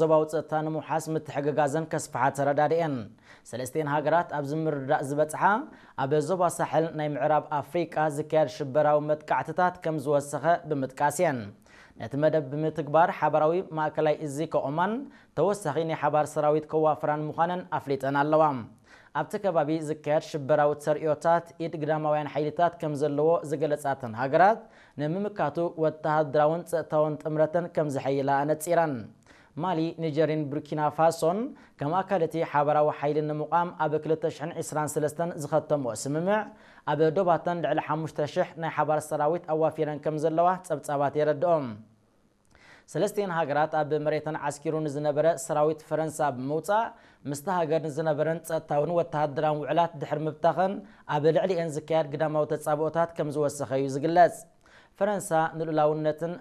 ዞባዊ ጸጥታ ንምውሓስ ምትሕግጋዘን ከስፍሓ ተረዳድኤን። ሰለስቲኤን ሃገራት ኣብዚ ምርድዳእ ዝበጽሓ፣ ኣብ ዞባ ሳሕል ናይ ምዕራብ ኣፍሪቃ ዝካየድ ሽበራዊ መጥቃዕትታት ከም ዝወሰኸ ብምጥቃስ እየን። ነቲ መደብ ብምትግባር ሓባራዊ ማእከላይ እዚ ከቑማን ተወሳኺ ናይ ሓባር ሰራዊት ከዋፍራን ምዃነን ኣፍሊጠን ኣለዋ። ኣብቲ ከባቢ ዝካየድ ሽበራዊ ተርእዮታት ኢድ ግዳማውያን ሓይልታት ከም ዘለዎ ዝገለጻተን ሃገራት፣ ንምምካቱ ወተሃደራውን ጸጥታውን ጥምረተን ከም ዘሐይላ ኣነጺረን። ማሊ፣ ኒጀርን ቡርኪና ፋሶን ከም ኣካል እቲ ሓባራዊ ሓይሊ ንምቋም ኣብ ክልተ ሽሕን ዕስራን ሰለስተን ዝኸተምኦ ስምምዕ፣ ኣብ ዶባተን ልዕሊ ሓሙሽተ ሽሕ ናይ ሓባር ሰራዊት ኣዋፊረን ከም ዘለዋ ጸብጻባት የረድኦም። ሰለስቲኤን ሃገራት ኣብ መሬተን ዓስኪሩ ንዝነበረ ሰራዊት ፈረንሳ ብምውጻእ፣ ምስታ ሃገር ንዝነበረን ጸጥታውን ወተሃደራውን ውዕላት ድሕሪ ምብታኸን፣ ኣብ ልዕሊኤን ዝካየድ ግዳማዊ ተጻብኦታት ከም ዝወሰኸ እዩ ዝግለጽ። ፈረንሳ ንልኡላውነትን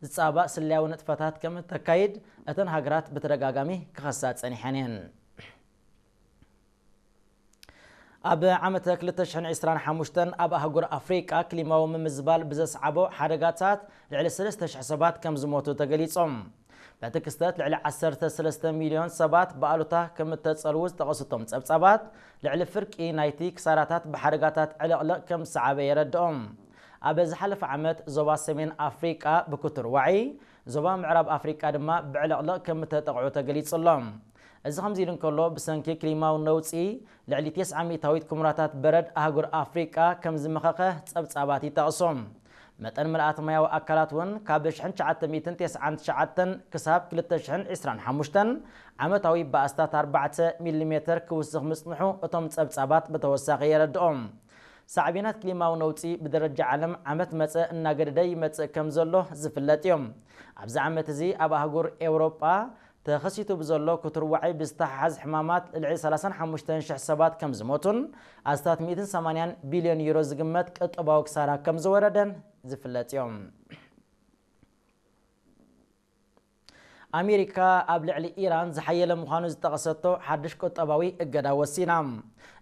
ዝጻባእ ስለያዊ ንጥፈታት ከም እተካይድ እተን ሃገራት ብተደጋጋሚ ክኸሳ ጸኒሐን እየን። ኣብ ዓመተ ክልተ ሽሕን ዕስራን ሓሙሽተን ኣብ ኣህጉር ኣፍሪቃ ክሊማዊ ምምዝባል ብዘስዓቦ ሓደጋታት ልዕሊ ሰለስተ ሽሕ ሰባት ከም ዝሞቱ ተገሊጾም። በቲ ክስተት ልዕሊ ዓሰርተ ሰለስተ ሚልዮን ሰባት ብኣሉታ ከም እተጸልዉ ዝጠቐሱ እቶም ጸብጻባት፣ ልዕሊ ፍርቂ ናይቲ ክሳራታት ብሓደጋታት ዕልቕልቕ ከም ዝሰዓበ የረድኦም። ኣብ ዝሓለፈ ዓመት ዞባ ሰሜን ኣፍሪቃ ብክቱር ዋዒ፣ ዞባ ምዕራብ ኣፍሪቃ ድማ ብዕልቕልቕ ከም እተጠቕዑ ተገሊጹ ኣሎ። እዚ ከምዚ ኢሉ እንከሎ፣ ብሰንኪ ክሊማዊ ነውጺ ልዕሊ ተስዓ ሚእታዊት ኩምራታት በረድ ኣህጉር ኣፍሪቃ ከም ዝመኸኸ ጸብጻባት ይጠቕሱ። መጠን ምልኣት ማያዊ ኣካላት እውን ካብ ሽሕን ትሽዓተ ሚእትን ተስዓን ትሽዓተን ክሳብ ክልተ ሽሕን ዕስራን ሓሙሽተን ዓመታዊ ብኣስታት ኣርባዕተ ሚሊሜተር ክውስኽ ምጽንሑ እቶም ጸብጻባት ብተወሳኺ የረድኦም። ሳዕቤናት ክሊማዊ ነውጺ ብደረጃ ዓለም ዓመት መጸ እናገደደ ይመጽእ ከም ዘሎ ዝፍለጥ እዩ። ኣብዚ ዓመት እዚ ኣብ ኣህጉር ኤውሮጳ ተኸሲቱ ብዘሎ ክቱር ዋዒ ብዝተሓሓዝ ሕማማት ልዕሊ ሰላሳን ሓሙሽተን ሽሕ ሰባት ከም ዝሞቱን ኣስታት ሚእትን ሰማንያን ቢልዮን ዩሮ ዝግመት ቁጠባዊ ክሳራ ከም ዝወረደን ዝፍለጥ እዮም። ኣሜሪካ ኣብ ልዕሊ ኢራን ዝሓየለ ምዃኑ ዝጠቐሰቶ ሓድሽ ቁጠባዊ እገዳ ወሲና።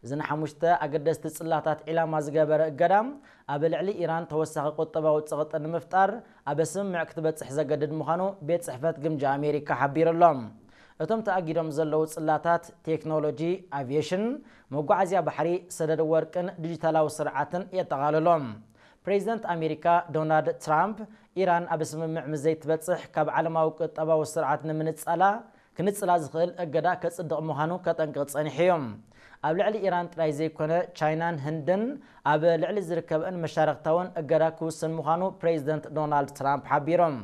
እዚ ንሓሙሽተ ኣገደስቲ ጽላታት ዒላማ ዝገበረ እገዳ፣ ኣብ ልዕሊ ኢራን ተወሳኺ ቁጠባዊ ጸቕጢ ንምፍጣር ኣብ ስምምዕ ክትበጽሕ ዘገድድ ምዃኑ ቤት ጽሕፈት ግምጃ ኣሜሪካ ሓቢሩ ኣሎ። እቶም ተኣጊዶም ዘለዉ ጽላታት ቴክኖሎጂ፣ ኣቪየሽን፣ መጓዓዝያ ባሕሪ፣ ሰደድ ወርቅን ዲጂታላዊ ስርዓትን የጠቓልሎም። ፕሬዚደንት ኣሜሪካ ዶናልድ ትራምፕ፣ ኢራን ኣብ ስምምዕ ምስ ዘይትበጽሕ ካብ ዓለማዊ ቁጠባዊ ስርዓት ንምንጻላ፣ ክንጽላ ዝኽእል እገዳ ከጽድቕ ምዃኑ ከጠንቅቕ ጸኒሑ እዩ። ኣብ ልዕሊ ኢራን ጥራይ ዘይኮነ፣ ቻይናን ህንድን ኣብ ልዕሊ ዝርከበን መሻርኽታውን እገዳ ክውሰን ምዃኑ ፕሬዚደንት ዶናልድ ትራምፕ ሓቢሮም።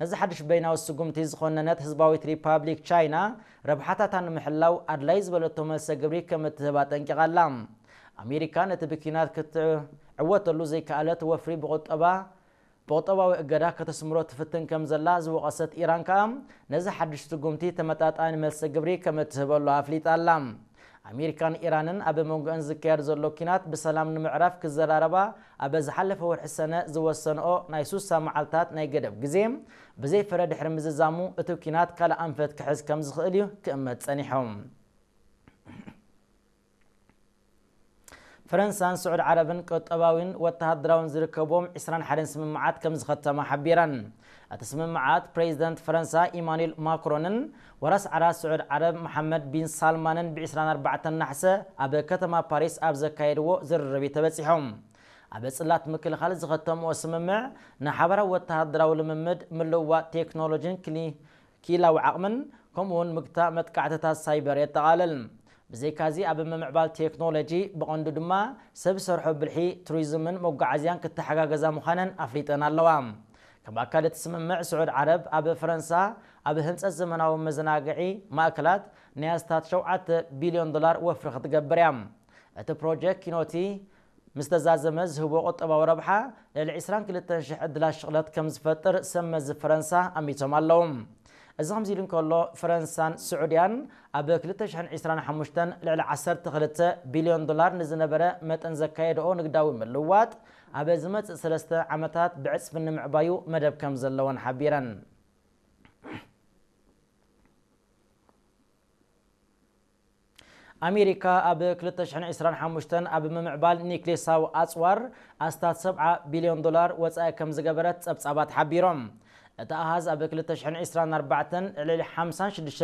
ነዚ ሓድሽ በይናዊ ስጉምቲ ዝኾነነት ህዝባዊት ሪፓብሊክ ቻይና፣ ረብሓታታ ንምሕላው ኣድላይ ዝበለቶ መልሰ ግብሪ ከም እትህብ ኣጠንቂቓ ኣላ። ኣሜሪካ ነቲ ብኲናት ክትዕወተሉ ዘይከኣለት ወፍሪ ብቁጠባ፣ ብቁጠባዊ እገዳ ከተስምሮ ትፍትን ከም ዘላ ዝወቐሰት ኢራን ከኣ፣ ነዚ ሓድሽ ስጉምቲ ተመጣጣኒ መልሰ ግብሪ ከም እትህበሉ ኣፍሊጣ ኣላ። ኣሜሪካን ኢራንን ኣብ መንጎአን ዝካየድ ዘሎ ኲናት ብሰላም ንምዕራፍ ክዘራረባ ኣብ ዝሓለፈ ወርሒ ሰነ ዝወሰንኦ ናይ ሱሳ መዓልታት ናይ ገደብ ግዜ ብዘይ ፍረ ድሕሪ ምዝዛሙ፣ እቲ ኲናት ካልእ ኣንፈት ክሕዝ ከም ዝኽእል እዩ ክእመት ጸኒሑ። ፈረንሳን ስዑድ ዓረብን ቁጠባዊን ወተሃደራውን ዝርከብዎም ዕስራን ሓደን ስምምዓት ከም ዝኸተማ ሓቢረን። እቲ ስምምዓት ፕሬዚደንት ፈረንሳ ኢማኑኤል ማክሮንን ወራስ ዓራት ስዑድ ዓረብ መሓመድ ቢን ሳልማንን ብ ዕስራን ኣርባዕተን ናሕሰ ኣብ ከተማ ፓሪስ ኣብ ዘካየድዎ ዝርርብ እዩ ተበጺሖም። ኣብ ጽላት ምክልኻል ዝኸተምዎ ስምምዕ ንሓባራዊ ወተሃደራዊ ልምምድ፣ ምልውዋጥ ቴክኖሎጂን ክሊ-፣ ክኢላዊ ዓቕምን፣ ከምኡውን ምግታእ መጥቃዕትታት ሳይበር የጠቓልል። ብዘይካዚ ኣብ ምምዕባል ቴክኖሎጂ፣ ብቐንዱ ድማ ሰብ ሰርሖ ብልሒ፣ ቱሪዝምን መጓዓዝያን ክተሓጋገዛ ምዃነን ኣፍሊጠን ኣለዋ። ከም ኣካል እቲ ስምምዕ፣ ስዑድ ዓረብ ኣብ ፈረንሳ ኣብ ህንጸት ዘመናዊ መዘናግዒ ማእከላት ናይ ኣስታት ሸውዓተ ቢልዮን ዶላር ወፍሪ ክትገብር እያ። እቲ ፕሮጀክት ኪኖቲ ምስ ተዛዘመ ዝህቦ ቁጠባዊ ረብሓ ልዕሊ ዕስራን ክልተን ሽሕ ዕድላት ሽቕለት ከም ዝፈጥር ሰብ መዚ ፈረንሳ ኣሚቶም ኣለዉ። እዚ ከምዚ ኢሉ እንከሎ፣ ፈረንሳን ስዑድያን ኣብ ክልተ ሽሕን ዕስራን ሓሙሽተን ልዕሊ ዓሰርተ ክልተ ቢልዮን ዶላር ንዝነበረ መጠን ዘካየድኦ ንግዳዊ ምልውዋጥ፣ ኣብ ዝመጽእ ሰለስተ ዓመታት ብዕጽፊ ንምዕባዩ መደብ ከም ዘለወን ሓቢረን። ኣሜሪካ ኣብ ክልተ ሽሕን ዕስራን ሓሙሽተን ኣብ ምምዕባል ኒክሌሳዊ ኣጽዋር ኣስታት ሰብዓ ቢልዮን ዶላር ወጻኢ ከም ዝገበረት ጸብጻባት ሓቢሮም። እቲ ኣሃዝ ኣብ ክልተ ሽሕን ዕስራን ኣርባዕተን ልዕሊ ሓምሳን ሽዱሽተ